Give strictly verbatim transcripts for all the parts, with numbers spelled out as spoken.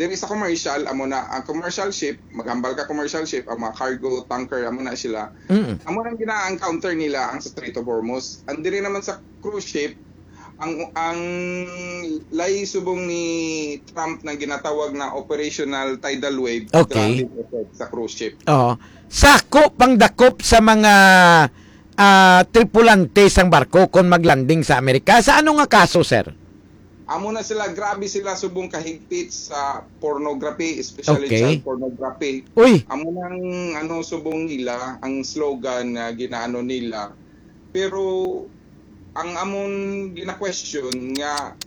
Diri sa commercial, amo na, ang commercial ship, maghambal ka commercial ship, ang mga cargo tanker, amo na sila. Mm. Amo nang gina-encounter nila ang sa Strait of Hormuz. Ang diri naman sa cruise ship, ang, ang lay subong ni Trump na ginatawag na operational tidal wave, Okay. grabe ang effect sa cruise ship. Oo. Sako pang dakop sa mga, ah, tripulante sang barko kon maglanding sa Amerika. Sa ano nga kaso, sir? Amo na sila, grabe sila subong kahigpit sa pornography, especially Okay. child pornography. Uy! Amo nang, ano, subong nila, ang slogan na ginaano nila. Pero ang amon gina-question nga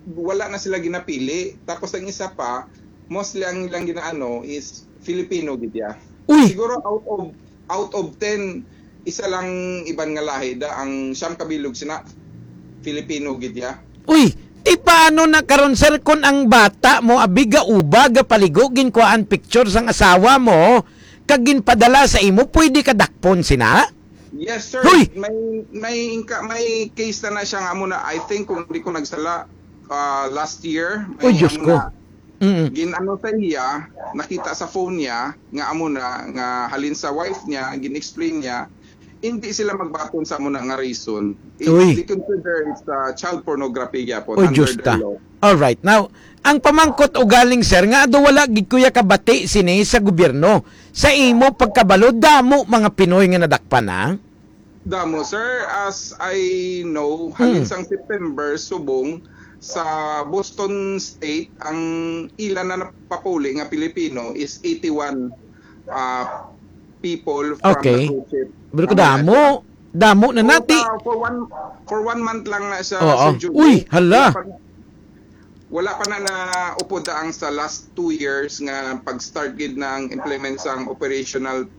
wala na sila ginapili. Tapos ang isa pa, mostly ang ilang ginaano is Filipino gid ya. Uy! Siguro out of, out of ten, isa lang iban nga lahi da, ang siyam kabilog sina Filipino gid ya. Uy, ti paano na karon, sir, kun ang bata mo abi gauba, gapaligo, ginkuhaan picture sang asawa mo, kag ginpadala sa imo, pwede ka dakpon sina? Yes, sir. Hoy! May, may inka-, may case na na siya nga amo na, I think, kung di ko nagsala, ah, last year, may Uy, Diyos amo ko. na, Mm. gin-ano sa iya, nakita sa phone niya, nga amo na, nga halin sa wife niya, gin-explain niya, hindi sila magbaton sa amo na nga reason. It's, Uy. they consider it's, ah, child pornography gyapon Uy, under Diyos their ta. law. All right. Now, ang pamangkot ugaling, sir, nga ado wala gid kuya kabati sini sa gobyerno. Sa imo pagkabalo, damo mga Pinoy nga nadakpan, ha? Damo, sir. As I know, halin Mm. sang September, subong sa Boston State, ang ila na napapuli nga Pilipino is eighty-one, ah, people from Okay. the cruise ship. Pero Ang kadamo, damo na So, nati. uh, for one, for one month lang na siya, Oo. Sir Jun. Uy, hala. Wala pa na, wala pa na naupod ang sa last two years nga pag-start gid na ang implement sang operational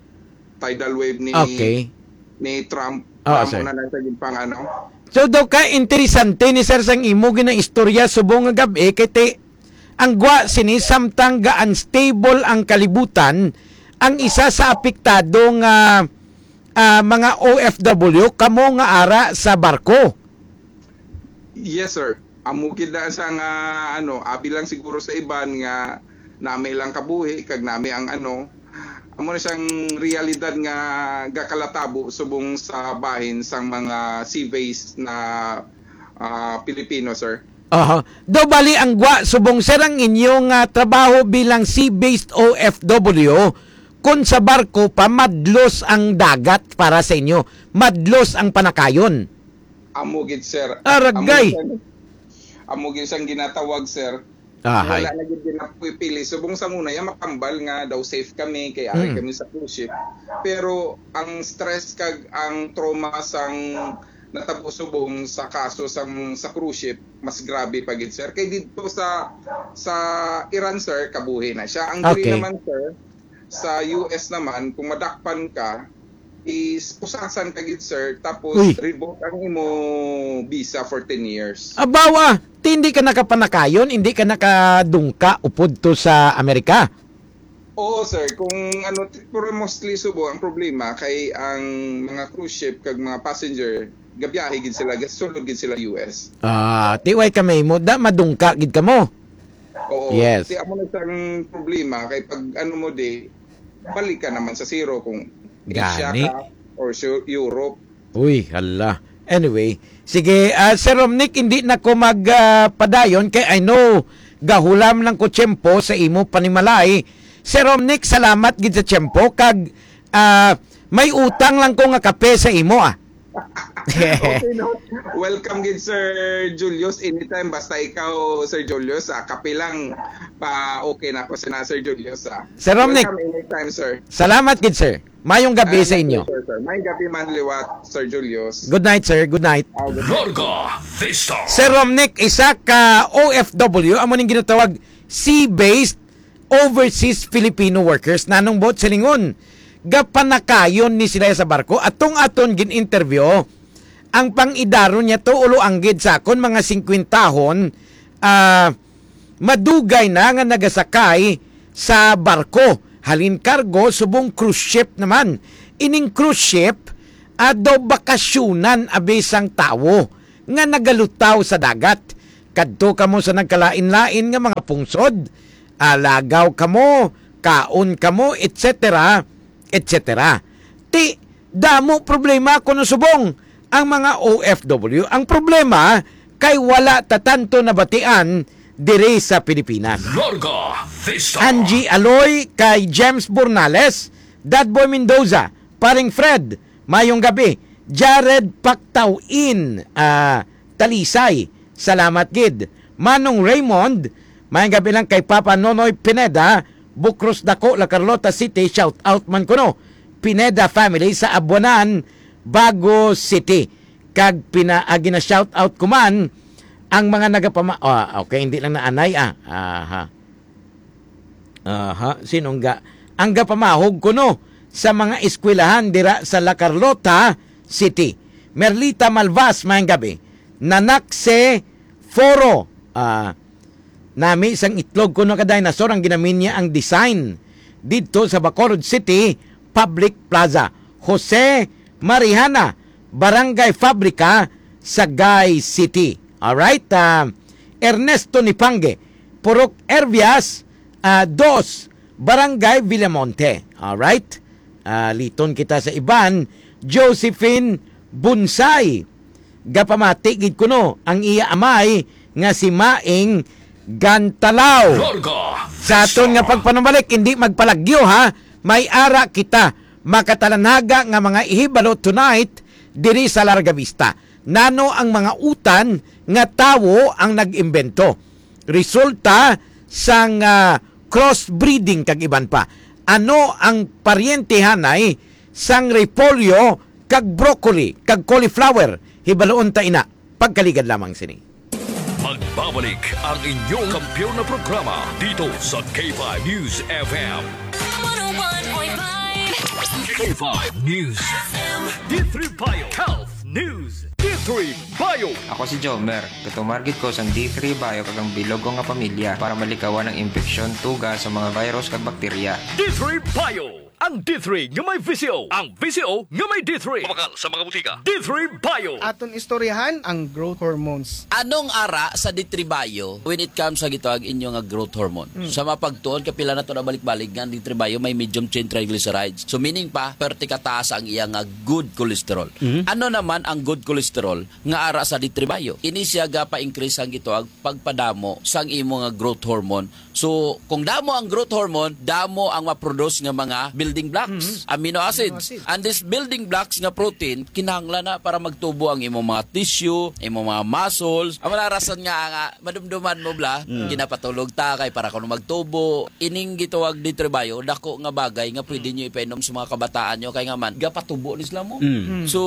tidal wave ni, Okay. ni Trump. Oo, Amo sir. na lang sa gid pang ano. So, daw ka interesante ni sir sang imo ginaistorya subong nga gab-i kay ti-, ang gwa sini samtang ga-unstable ang kalibutan, ang isa sa apektado nga, ah, mga O F W, kamo nga ara sa barko. Yes, sir. Amo gid na sa nga, ano, abi lang siguro sa iban nga nami lang kabuhi, kag nami ang, ano, amo na siyang realidad nga gakalatabo subong sa bahin sang mga sea-based na, ah, Pilipino, sir. Aha. Daw bali ang gwa subong, sir, ang inyong, ah, trabaho bilang sea-based O F W, kun sa barko pa, madlos ang dagat para sa inyo, madlos ang panakayon. Amo gid, sir. Aragay. Amo gid sang, amo gid sang ginatawag, sir. Ahay. Wala na gid ginapipili. Subong sa una, ya makambal nga daw safe kami, kay ari Mm. kami sa cruise ship. Pero ang stress kag ang trauma sang natabo subong sa kaso sang, sa cruise ship, mas grabe pa gid, sir. Kay didto sa, sa Iran, sir, kabuhi na siya. Ang diri Okay. naman, sir, sa U S naman, kung madakpan ka, is pusasan ka gid, sir, tapos Uy. revoke ang imo visa for ten years. Abaw, ah, ti hindi ka nakapanakayon, hindi ka nakadungka upod to sa Amerika? Oo, sir. Kung ano, t-, pero mostly subo ang problema kay ang mga cruise ship kag mga passenger, gabiyahe gid sila, gasulod gid sila U S. Ah, ti way ka may mo, da madungka gid ka mo. Oo. Yes. Ti amo na sang problema kay pag ano mo di, balik ka naman sa zero kung Asia Gani. ka or sa Europe. Uy, hala. Anyway, sige, ah, Sir Romnick, hindi na ko mag, ah, padayon kay I know gahulam lang ko tiyempo sa imo panimalay. Sir Romnick, salamat gid sa tiyempo kag, ah, may utang lang ko nga kape sa imo, ah. Okay, no? Welcome gid, Sir Julius. Anytime, basta ikaw, Sir Julius, ah, kape lang, pa okay na ko sina Sir Julius, ah. Sir Romnick. Welcome anytime, sir. Salamat gid, sir. Mayong gabi Ah, sa inyo. Sir, sir. Mayong gabi man liwat, Sir Julius. Good night, sir. Good night. Ah, good night. Larga Vista. Sir Romnick, isa ka O F W, amo ning ginatawag sea-based overseas Filipino workers. Nanong buot silingon, gapanakayon ni sila sa barko. Atong aton gin-interview, ang pang-idaron niya to, ulo anggid sa akon, mga singkwentahon, ah, madugay na nga nagasakay sa barko. Halin kargo, subong cruise ship naman. Ining cruise ship, ah, daw bakasyonan abi sang tawo nga nagalutaw sa dagat. Kadto kamo sa nagkalain-lain nga mga pungsod, alagaw kamo, kaon kamo, et cetera, et cetera. Ti, damo problema kuno subong ang mga O F W. Ang problema kay wala ta tanto nabatian diri sa Pilipinas. Larga Vista. Angie Aloy, kay James Bornales, Dadboy Mendoza, Paring Fred, mayong gabi. Jared Pactawin, ah, Talisay, salamat gid. Manong Raymond, mayong gabi lang kay Papa Nonoy Pineda, Bucros Dako, La Carlota City, shout out man kuno. Pineda family sa Abuanan, Bago City. Kag pina, ah, gina-shout out ko man ang mga nagapama-, ah, okay, hindi lang na anay, ah. Aha. Aha, sinong ga-, ang gapamahog kuno sa mga eskwelahan dira sa La Carlota City. Merlita Malvas, mayong gabi. Nanakse Foro, ah, nami sang itlog kuno ka dinosaur ang ginamin niya ang design didto sa Bacolod City Public Plaza. Jose Marihana, Barangay Fabrica, Sagay City. Alright? Ah, Ernesto Nipangge, Purok Ervias, ah, dos, Barangay Villamonte. Alright? Ah, liton kita sa iban. Josephine Bunsay, gapamati gid kuno ang iya amay nga si Maing Gantalaw. Larga Sa aton nga Vista. Pagpanumalik, hindi magpalagyo, ha. May ara kita makatalanhaga nga mga ihibalo tonight diri sa Larga Vista. Nano ang mga utan nga tawo ang nag-imbento? Resulta sang, ah, crossbreeding kag iban pa. Ano ang paryentehanay sang repolyo kag broccoli kag cauliflower? Hibaluon ta ina. Pagkaligad lamang sini. Magbabalik ang inyong kampiyon na programa dito sa K five News F M. One oh one point five. K five News F M. D three Bio Health News. D three Bio. Ako si Jomer. Gatumar gid ko sang D three Bio kag ang bilog ko nga pamilya para malikawan ang impeksyon, tuga sa mga virus kag bakterya. D three Bio. Ang D three nga may V C O. Ang V C O nga may D three. Mabakal sa mga butika. D three Bio. Aton istoryahan ang growth hormones. Anong ara sa D three Bio when it comes sa gitawag inyo nga growth hormone? Hmm. Sa mapagtuon, kapila na to na balik-balik nga ang D three Bio may medium chain triglycerides. So, meaning pa, perte kataas ang iya nga good cholesterol. Hmm. Ano naman ang good cholesterol nga ara sa D three Bio? Ini siya gapa-increase ang gitawag pagpadamo sang imo nga growth hormone. So, kung damo ang growth hormone, damo ang ma-produce nga mga building blocks, Mhm. amino acids. Amino acids. And these building blocks nga protein, kinahanglan na para magtubo ang imong mga tissue, imong mga muscles. Ang mga rason nga, nga madumduman mo bla, Mm. ginapatulog ta kay para kuno magtubo. Ining gitawag D three Bio, dako nga bagay nga pwede Mm. nyo ipainom sa mga kabataan nyo kay nga man, gapatubo ni sila mo. Mm. Mm. So,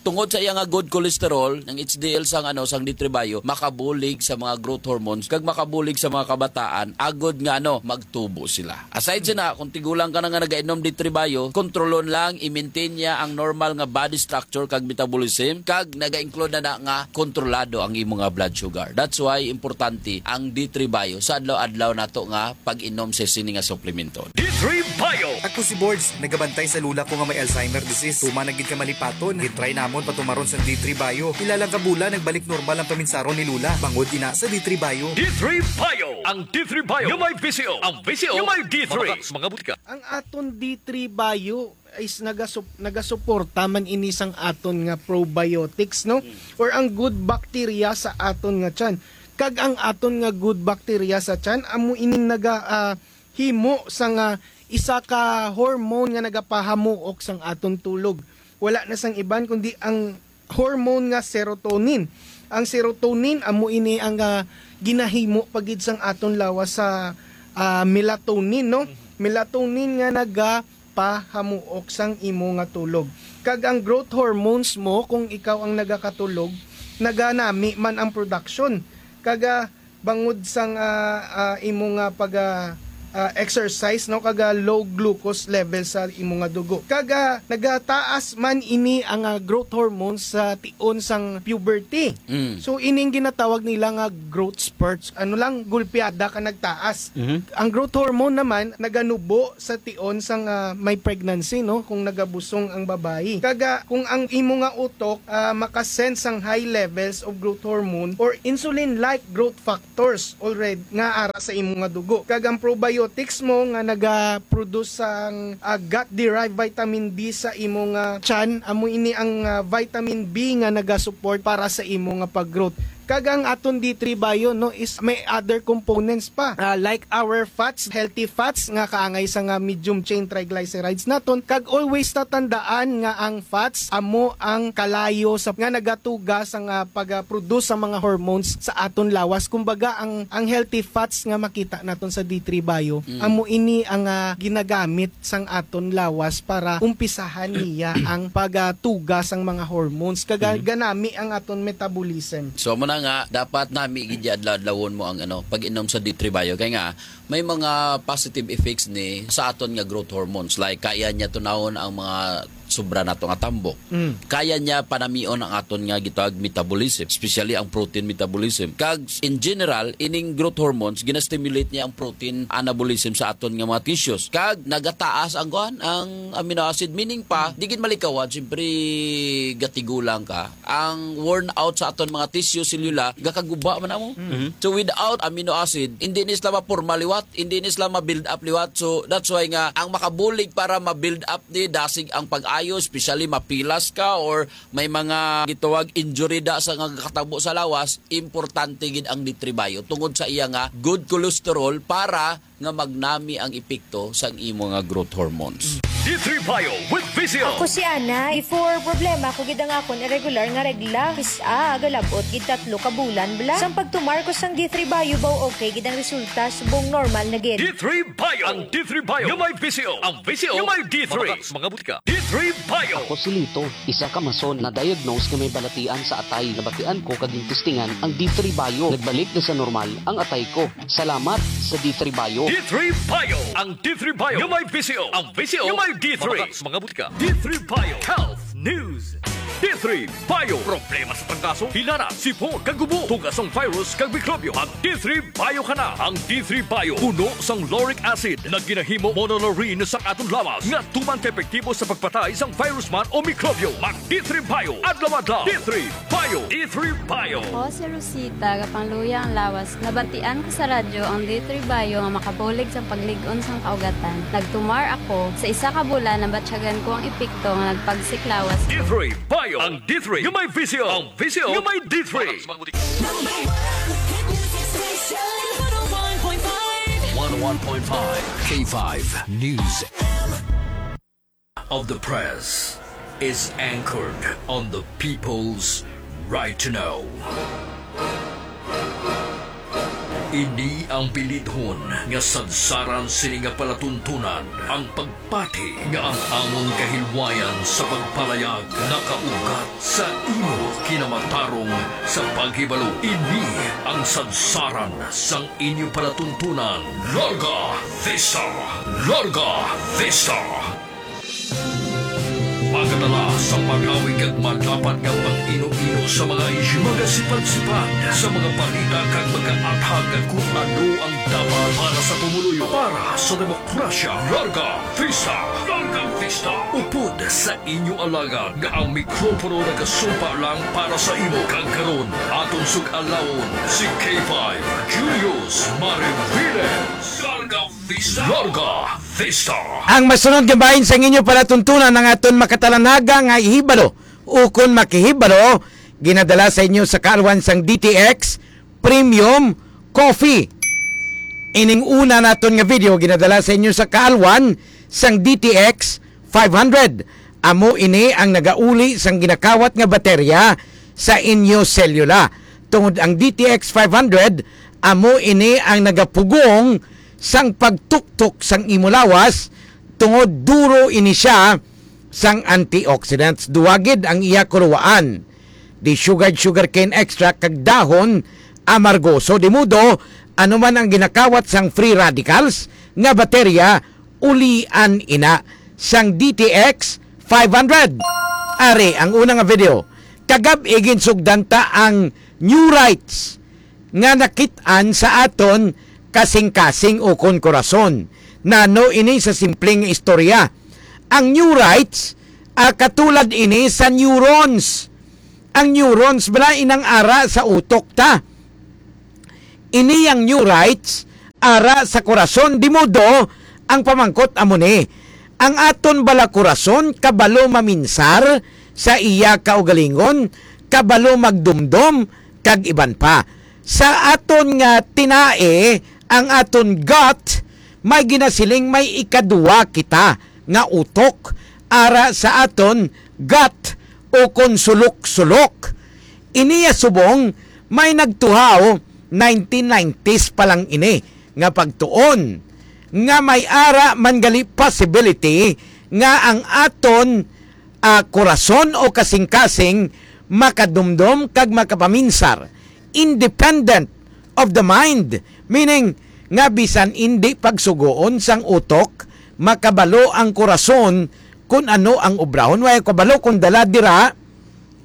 tungod sa iya nga good cholesterol, ang H D L sang, ano, sang D three Bio, makabulig sa mga growth hormones, kag makabulig sa mga kabataan, agod nga, ano, magtubo sila. Aside sa na, kung tigulang ka na nga nagainom D three Bio, kontrolon lang, i-maintain niya ang normal nga body structure kag metabolism, kag naga-include na, na nga kontrolado ang imo nga blood sugar. That's why importante ang D three Bio sa adlaw-adlaw nato nga pag-inom sa sini nga suplemento. D three Bio. Ako si Bords, nagabantay sa lula ko nga may Alzheimer disease. Tuman na gid ka malipaton. Gitry namon patumaron sa D three Bio. Pila lang ka bulan, nagbalik normal ang paminsaron ni Lula. Bangod ina sa D three Bio. D three Bio. Ang D three Bio nga may V C O. Ang V C O nga may D three. Mabakal sa mga butika. Ang aton D three Bio is nagasup-, nagasuporta man ini sang aton nga probiotics, no? Mm. Or ang good bacteria sa aton nga tiyan. Kag ang aton nga good bacteria sa tiyan, amo ining naga, ah, himo sang, ah, isa ka hormone nga nagapahamuok sang aton tulog. Wala na sang iban kundi ang hormone nga serotonin. Ang serotonin amo ini ang, ah, ginahimo pa gid sang aton lawas sa, ah, melatonin, no? Melatonin nga nagapahamuok sang imo nga tulog. Kag ang growth hormones mo, kung ikaw ang nagakatulog, naganami man ang production. Kag, ah, bangod sang, ah, ah, imo nga pag, ah, ah, exercise, no, kag, ah, low glucose level sa imo nga dugo. Kag, ah, nagataas man ini ang, ah, growth hormones sa tion sang puberty. Mm. So, ining ginatawag nila nga growth spurts. Ano lang, gulpiada ka nagtaas. Mhm. Ang growth hormone naman naganubo sa tion sang, ah, may pregnancy, no, kung nagabusong ang babayi. Kag, ah, kung ang imo nga utok, ah, makasend sang high levels of growth hormone or insulin-like growth factors already nga ara sa imo nga dugo. Kag ang probiotics mo nga naga-produce sang, ah, gut-derived vitamin B sa imo nga tiyan, amo ini ang, ah, vitamin B nga naga-support para sa imo nga pag-growth. Kag ang aton D three Bio, no, is may other components pa, ah, like our fats, healthy fats nga kaangay sa nga medium chain triglycerides naton, kag always tatandaan nga ang fats amo ang kalayo sa nga nagatuga sa nga pag-produce sa mga hormones sa aton lawas. Kumbaga, ang ang healthy fats nga makita naton sa D three Bio, Mm. amo ini ang, ah, ginagamit sang aton lawas para umpisahan niya ang pagtuga sang mga hormones. Kag Mhm. ganami ang aton metabolism. So, amo na nga, dapat nami gid adlaw-adlawon mo ang, ano, pag-inom sa D three Bio. Kay nga, may mga positive effects ni sa aton nga growth hormones. Like, kaya niya tunawon ang mga sobra nato nga tambok. Mm. Kaya niya panamion ang aton nga gitawag metabolism, especially ang protein metabolism. Kag in general, ining growth hormones, ginastimulate niya ang protein anabolism sa aton nga mga tissues. Kag nagataas ang kuan, ang amino acid, meaning pa, di gid malikawan, siyempre gatigulang ka. Ang worn out sa aton mga tissue, selula, gakaguba man amo. Mhm. So without amino acid, hindi ni sila maporma liwat, hindi ni sila ma-build up liwat. So that's why nga ang makabulig para ma-build up ni dasig ang pag-ayo, especially mapilas ka or may mga gitawag injury da sa nga katabo sa lawas, importante gid ang D three Bio tungod sa iya nga good cholesterol para nga magnami ang epekto sang imo nga growth hormones. D three Bio with Visio. Ako si Ana. Before, problema ko gid ang akon irregular nga regla. Kis-a, galabot gid tatlo ka bulan bala. Sang pagtumar ko sang D three Bio, baw okay gid ang resulta, subong normal na gid. D three Bio. Ang D three Bio nga may Visio. Ang Visio nga may D three. Mga butika. D three Bio. Ako si Lito, isa ka mason na diagnose nga may balatian sa atay. Nabatian ko kag gintistingan ang D three Bio. Nagbalik na sa normal ang atay ko. Salamat sa D three Bio. D three Bio. Ang D three Bio nga may Visio. Ang Visio nga may D three. Mga butika. D three Bio Health News. D three Bio. Problema sa tangkaso, hilara, sipon, kag ubo, tuga sang virus kag mikrobyo. Mag D three Bio ka na. Ang D three Bio puno sang lauric acid nga ginahimo monolaurin sang aton lawas nga tuman ka epektibo sa pagpatay sang virus man o mikrobyo. Mag D three Bio adlaw-adlaw. D three Bio. D three Bio. Ako si Rosita, gapangluya ang lawas. Nabatian ko sa radyo ang D three Bio nga makabulig sang paglig-on sang kaugatan. Nagtumar ako. Sa isa ka bulan, nabatyagan ko ang epekto nga nagpagsik lawas ko. D three Bio. Ang D three nga may Visio. Ang Visio nga may D three. Number one hit music station, one oh one point five. One oh one point five K five News. Of the press is anchored on the people's right to know. Ini ang bilidhon nga sadsaran sini nga palatuntunan, ang pagpati nga ang amon kahilwayan sa pagpalayag nakaugat sa imo kinamatarong sa paghibalo. Ini ang sadsaran sang inyo palatuntunan. Larga Vista! Larga Vista! Magadala sa pag-awig kag madapat nga pag-ino-ino sa mga isyu, magasipad-sipad sa mga balita kag magaathag kung ano ang dapat para sa pumuluyo, para sa demokrasya. Larga Vista! Larga Vista! Upod sa inyo alagad nga ang mikropono nagasumpa lang para sa imo. Kag karon, aton sug-alawon si K five Julius Mariviles. Larga Vista! Larga Vista! Ang masunod nga bahin sang inyo palatuntunan ang aton makatalanaga nga hibalo ukon makahibalo, ginadala sa inyo sa kaalwan sang D T X Premium Coffee. Ining una naton nga video ginadala sa inyo sa kaalwan sang D T X five hundred. Amo ini ang nagauli sang ginakawat nga baterya sa inyo selula. Tungod ang D T X five hundred, amo ini ang nagapugong sang pagtuktok sang imo lawas, tungod duro ini siya sang antioxidants. Duwa gid ang iya kuluwaan. Desugared sugarcane extract kag dahon amargoso. Di modo, Ano man ang ginakawat sang free radicals nga baterya, ulian ina sang D T X five hundred. Ari ang una nga video. Kagab-i ginsugdan ta ang neurites nga nakit-an sa aton kasing-kasing ukon kurason. Nano ini sa simpleng istorya? Ang neurites, ah, katulad ini sa neurons. Ang neurons bala inang ara sa utok ta. Ini ang neurites ara sa kurason, di modo ang pamangkot amo ni. Ang aton bala kurason kabalo maminsar sa iya kaugalingon, kabalo magdumdom, kag iban pa. Sa aton nga tinae, ang aton gut, may ginasiling may ikaduwa kita nga utok ara sa aton gut o kon sulok-sulok. Iniya subong may nagtuhaw nineteen nineties pa lang ini nga pagtuon nga may ara man gali possibility nga ang aton, ah, kurason o kasing-kasing makadumdom kag makapaminsar independent of the mind, meaning nga bisan indi pagsugoon sang utok, makabalo ang kurason kun ano ang obrahon. Way kabalo kung dala dira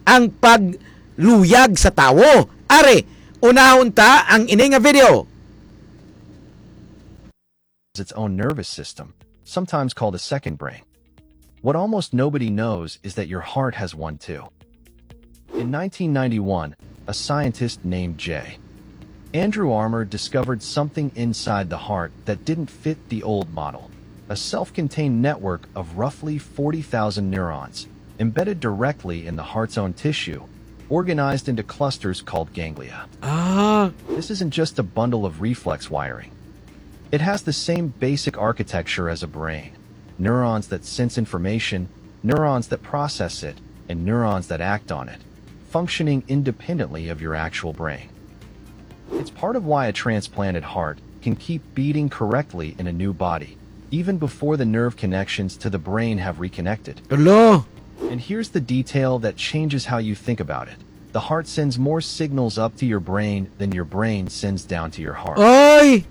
ang pagluyag sa tawo. Ari, unahon ta ang ini nga video. Its own nervous system, sometimes called a second brain. What almost nobody knows is that your heart has one too. In nineteen ninety-one, a scientist named J. Andrew Armour discovered something inside the heart that didn't fit the old model, a self contained network of roughly forty thousand neurons embedded directly in the heart's own tissue, organized into clusters called ganglia. Ah, This isn't just a bundle of reflex wiring. It has the same basic architecture as a brain: neurons that sense information, neurons that process it, and neurons that act on it, functioning independently of your actual brain. It's part of why a transplanted heart can keep beating correctly in a new body, even before the nerve connections to the brain have reconnected. Hala. And here's the detail that changes how you think about it. The heart sends more signals up to your brain than your brain sends down to your heart. Ay!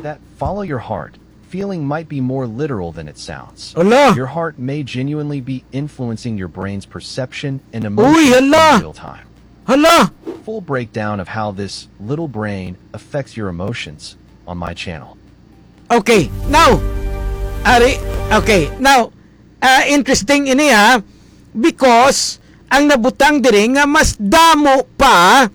That "follow your heart" feeling might be more literal than it sounds. Hala. Your heart may genuinely be influencing your brain's perception and emotions Uy, hala. In real time. Hala! Full breakdown of how this little brain affects your emotions on my channel. Okay, now, ari, okay, now, ah, interesting ini ha, because ang nabutang diri nga mas damo pa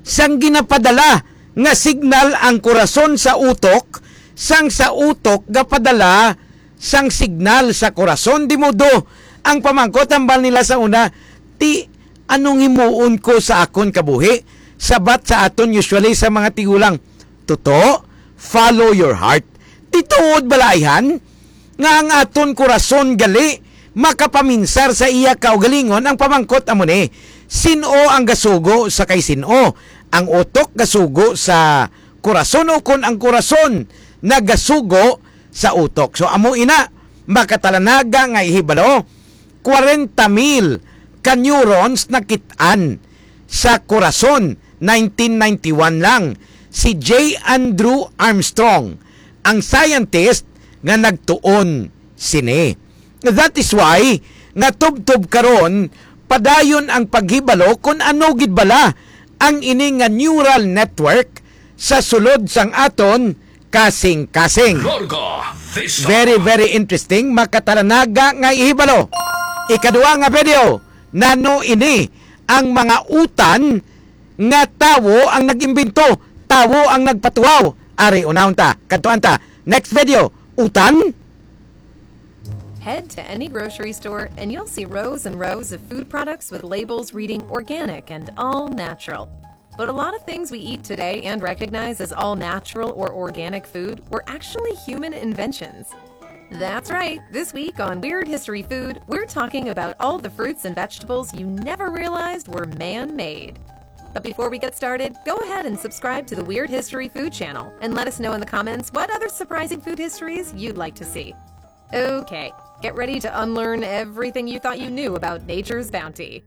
sang ginapadala nga signal ang kurason sa utok, sang sa utok gapadala sang signal sa kurason. Di mo do ang pamangkot hambal nila sa una, ti anong himuon ko sa akon kabuhi? Sabat sa aton usually sa mga tigulang, tuto, follow your heart. Ti tuod bala ayhan nga ang aton kurason gali makapaminsar sa iya kaugalingon? Ang pamangkot amo ni, sin-o ang gasugo sa kay sin-o? Ang utok gasugo sa kurason, o kon ang kurason nagasugo sa utok? So amo ina, makatalanaga nga ihibalo, kwarenta mil ka neurons nakit-an sa kurason. Nineteen ninety-one lang, si J. Andrew Armstrong ang scientist nga nagtuon sini. That is why nga tubtob karon padayon ang paghibalo kon ano gid bala ang ini nga neural network sa sulod sang aton kasing-kasing. Larga Vista. Very, very interesting. Makatalanaga nga ihibalo. Ikaduha nga video, nano ini ang mga utan nga tawo ang nag-imbento, tawo ang nagpatuhaw? Ari, unahon ta, kadtuan ta. Next video, utan? Head to any grocery store and you'll see rows and rows of food products with labels reading organic and all natural. But a lot of things we eat today and recognize as all natural or organic food were actually human inventions. That's right. This week on Weird History Food, we're talking about all the fruits and vegetables you never realized were man made. But before we get started, go ahead and subscribe to the Weird History Food channel and let us know in the comments what other surprising food histories you'd like to see. Okay, get ready to unlearn everything you thought you knew about nature's bounty.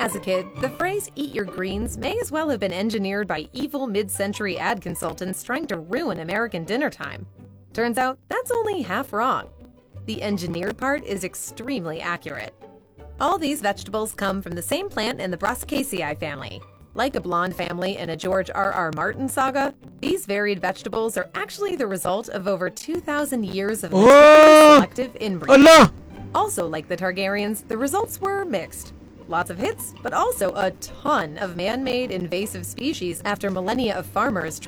As a kid, the phrase "eat your greens" may as well have been engineered by evil mid-century ad consultants trying to ruin American dinner time. Turns out, that's only half wrong. The engineered part is extremely accurate. All these vegetables come from the same plant in the Brassicaceae family. Like a Blonde family in a George R. R. Martin saga, these varied vegetables are actually the result of over two thousand years of Oh! selective inbreeding. Ala! Also, like the Targaryens, the results were mixed. Lots of hits, but also a ton of man-made invasive species after millennia of farmers